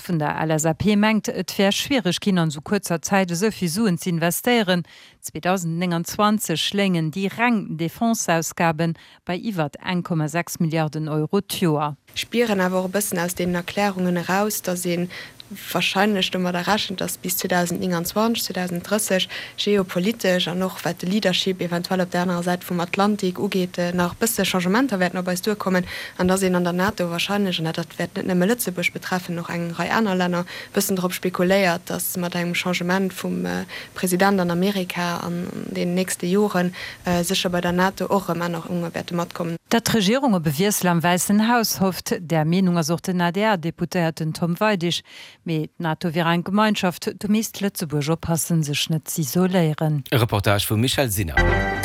vun der LSAP mengt, et wär schwiereg ginn, an esou kuerzer Zäit esou vill Suen ze investéieren. 2029 léingen déi reng Defenseausgabe bei iwwert 1,6 Milliarden Euro d'Joer. Spieren awer och e bëssen aus deenen Erklärungen eraus, datt ee wahrscheinlech domadder rechent, datt bis 2029, 2030 geopolitesch an och wat de Leadership eventuell op där anerer Säit vum Atlantik ugeet, nach e bësse Changementer wäerten op eis duerkommen an datt een an der NATO wahrscheinlech, an dat wäert net nëmme Lëtzebuerg betreffen, och eng Rei aner Länner, e bëssen drop spekuléiert, datt mat engem Changement vum President an Amerika an deenen nächste Joren sécher bei der NATO och erëm Ännerunge wäerte matkommen. Datt d'Regierung op e Wiessel am Wäissen Haus hofft, där Meenung ass och den ADR-Deputéierten Tom Weidig. Mee d'NATO wier eng Gemeinschaft, do misst Lëtzebuerg oppassen, sech net z'isoléieren. E Reportage vum Michèle Sinner.